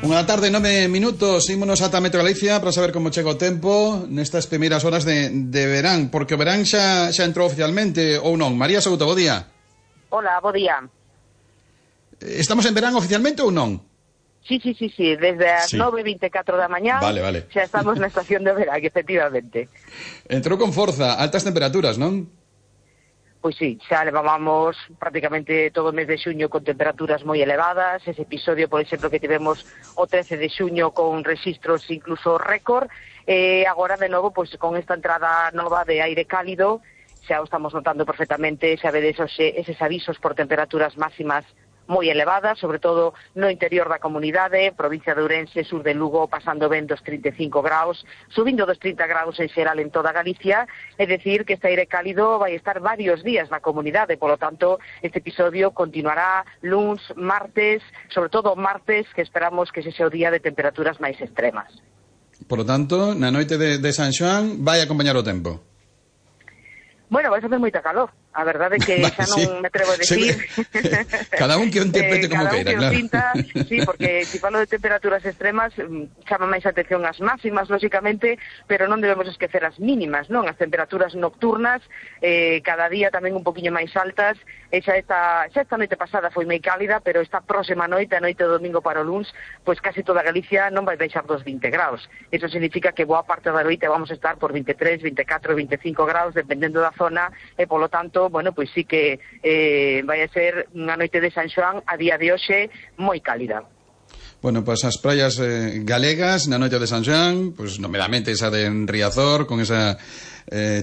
Unha tarde, 9 minutos, ímonos ata Metro Galicia para saber como chega o tempo nestas primeiras horas de verán, porque o verán xa entrou oficialmente ou non. María Souto, bo día. Hola, bo día. Estamos en verán oficialmente ou non? Sí, desde as 9:24 da mañá vale. xa estamos na estación de verán, efectivamente. Entrou con forza, altas temperaturas, non? Pois sí, xa levábamos prácticamente todo o mes de xuño con temperaturas moi elevadas. Ese episodio, por exemplo, que tivemos o 13 de xuño con registros incluso récord. Agora, de novo, pois con esta entrada nova de aire cálido, xa o estamos notando perfectamente, xa vedes eses avisos por temperaturas máximas moi elevadas, sobre todo no interior da comunidade, provincia de Ourense, sur de Lugo, pasando ben dos 35 graus, subindo dos 30 graus en xeral en toda Galicia, é dicir que este aire cálido vai estar varios días na comunidade, polo tanto, este episodio continuará luns, martes, sobre todo martes, que esperamos que sexa o día de temperaturas máis extremas. Por lo tanto, na noite de San Xoán vai acompañar o tempo. Bueno, vai facer moita calor. A verdade é que xa non me atrevo a decir. Cada un que o interprete como queira, claro. Pinta, sí, porque se falo de temperaturas extremas, chama máis atención as máximas, lóxicamente, pero non debemos esquecer as mínimas, non? As temperaturas nocturnas, cada día tamén un poquinho máis altas. Xa esta noite pasada foi moi cálida, pero esta próxima noite, a noite do domingo para o luns, pois casi toda Galicia non vai deixar dos 20 graus. Eso significa que boa parte da noite vamos a estar por 23, 24, 25 graus, dependendo da zona, e polo tanto, bueno, pois sí que vai a ser unha noite de San Xoán a día de hoxe moi cálida. Bueno, pois as praias galegas na noite de San Xoán, pois nomeadamente esa de Riazor, con esa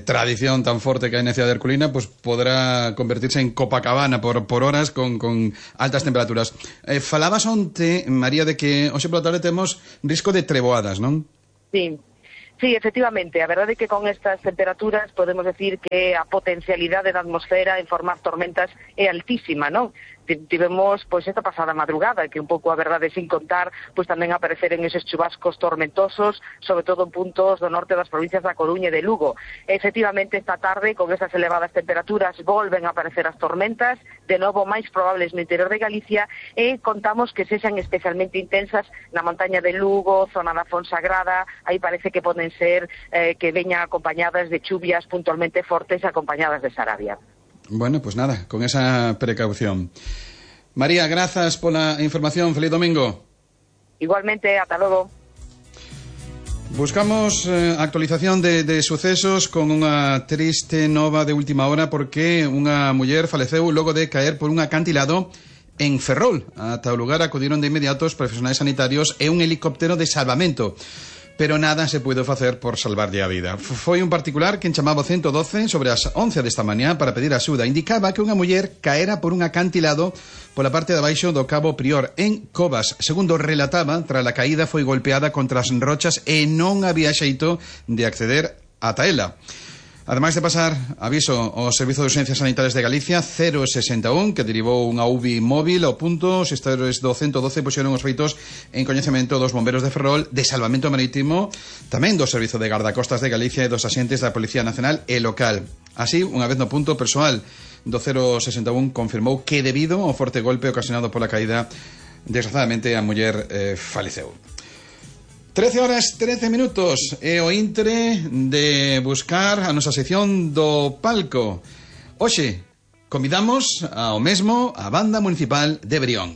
tradición tan forte que hai na cidade de Herculina, pois podrá convertirse en Copacabana por horas con altas temperaturas. Falabas onte, María, de que hoxe pola tarde temos risco de treboadas, non? Sí, efectivamente, a verdade é que con estas temperaturas podemos decir que a potencialidade da atmosfera en formar tormentas é altísima, non? Tivemos, pois, esta pasada madrugada, que un pouco a verdade sin contar, pois tamén apareceren eses chubascos tormentosos, sobre todo en puntos do norte das provincias da Coruña e de Lugo. Efectivamente, esta tarde, con esas elevadas temperaturas, volven a aparecer as tormentas, de novo máis probables no interior de Galicia, e contamos que sexan especialmente intensas na montaña de Lugo, zona da Fonsagrada. Aí parece que poden ser que veñan acompañadas de chuvias puntualmente fortes, acompañadas de sarabia. Bueno, pues nada, con esa precaución. María, grazas pola información. Feliz domingo. Igualmente, ata logo. Buscamos actualización de sucesos con unha triste nova de última hora, porque unha muller faleceu logo de caer por un acantilado en Ferrol. Ata o lugar acudiron de inmediato os profesionais sanitarios e un helicóptero de salvamento, pero nada se puido facer por salvarlle a vida. Foi un particular quen chamaba 112 sobre as 11 desta mañá para pedir axuda. Indicaba que unha muller caera por un acantilado pola parte de abaixo do Cabo Prior, en Covas. Segundo relataba, tras a caída foi golpeada contra as rochas e non había xeito de acceder ata ela. Ademais de pasar aviso ao Servizo de Urxencias Sanitarias de Galicia 061, que derivou unha UBI móvil ao punto, os gestores do 112 puxeron os feitos en coñecemento dos bomberos de Ferrol, de Salvamento Marítimo, tamén do Servizo de Gardacostas de Galicia e dos axentes da Policía Nacional e local. Así, unha vez no punto, o persoal do 061 confirmou que debido ao forte golpe ocasionado pola caída, desgraciadamente a muller faleceu. 13 horas 13 minutos e o intre de buscar a nosa sección do palco. Hoxe convidamos ao mesmo a Banda Municipal de Brión.